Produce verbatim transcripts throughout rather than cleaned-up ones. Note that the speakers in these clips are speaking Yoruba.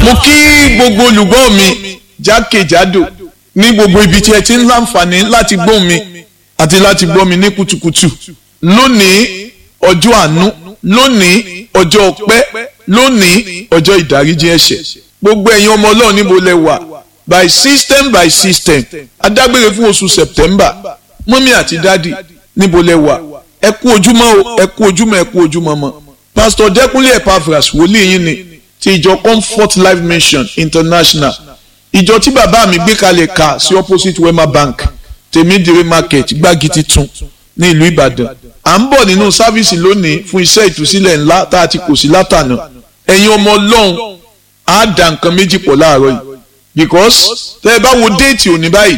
Mo kí gbogbo olùgbọ́ mi jákèjádò ní gbogbo ibi tí ẹ ti ń láǹfààní láti gbọ́ mi àti láti gbọ́ mi ní kùtùkùtù lónìí, ọjọ́ àánú, lónìí, ọjọ́ ọpẹ́, lónìí, ọjọ́ ìdáríjì ẹ̀ṣẹ̀. Gbogbo ẹ̀yin ọmọ Ọlọ́run, níbo lẹ wà? By system, by system, adágbére fún oṣù September. Mọ́mí àti dádì, níbo lẹ wà? Ẹ kú ojúmọ́ o, ẹ kú ojúmọ́, ẹ kú ojúmọ́ mọ́. Pastor Dẹ́kunlé Epaphras, wòlíì yín ni, ti ìjọ Comfort Life Mission International, ìjọ tí bàbá mi gbé kalẹ̀ ka sí opposite Wema Bank, Tèmídìrí Market, Gbági Titun ní ìlú Ìbàdàn. À ń bọ̀ nínú sáfíìsì lónìí fún iṣẹ́ ìtúsílẹ̀ ńlá tá a ti kò sí látànà. Ẹ̀yin ọmọ Ọlọ́run, á dà nǹkan méjì pọ̀ láàárọ̀ yìí, because tẹ́ ẹ bá wo déètì òní báyìí,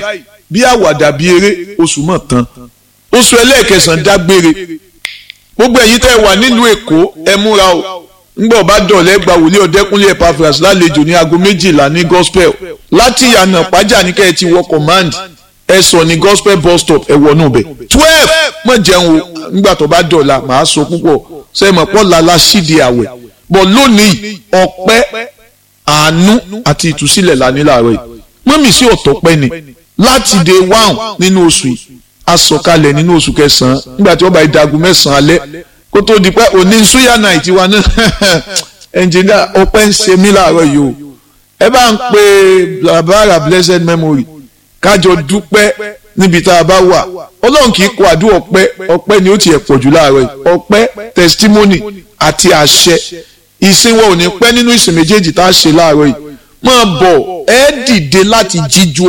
bí àwàdà bí eré, oṣù mọ̀ tán, oṣù ẹlẹ́ẹ̀kẹsàn-án dágbére. Gbogbo ẹ̀yin tẹ́ ẹ wà nílùú Èkó, ẹ múra o. Ńgbọ́ bá dọ̀lẹ́, gba wòlíì Ọ̀dẹ́kúnlé Epaphras lálejò ní aago méjìlá ní gospel. Láti ìyànà pàjá ní kẹ́ ẹ ti wọ Command, ẹ sọ ní Gospel bus stop, ẹ wọnú bẹ̀. Twelve mọ̀ jẹun o. Nígbà tó bá dọ̀la, màá sọ púpọ̀. Ṣe mọ̀ pọ̀ lala sídìí àwẹ̀ bọ̀ lónìí? Ọpẹ́, àánú àti ìtúsílẹ̀ la ní láàárọ̀ yìí. Mọ́mì sí ọ̀tọ̀ pẹ́ ni láti day one nínú oṣù yìí. A sọ̀kalẹ̀ nínú oṣù kẹsàn-án nígbà tí wọ́n bá dagun mẹ́sàn-án alẹ́ kó tó di pé òní suya night wa náà. Ẹnjìnìá, ọpẹ́ ń ṣe mí láàárọ̀ yìí o. Ẹ bá ń pe bàbára blessed memory, kájọ dúpẹ́ níbi tá a bá wà. Ọlọ́run kì í kọ àdúrà ọpẹ́. Ọpẹ́ ni ó tiẹ̀ pọ̀ jù láàárọ̀ yìí, ọpẹ́, testimony àti àṣẹ. Ìsìn wọn ò ní pẹ́ nínú ìsìn méjèèjì tá a ṣe láàárọ̀ yìí. Máa bọ̀, ẹ dìde láti jíjú.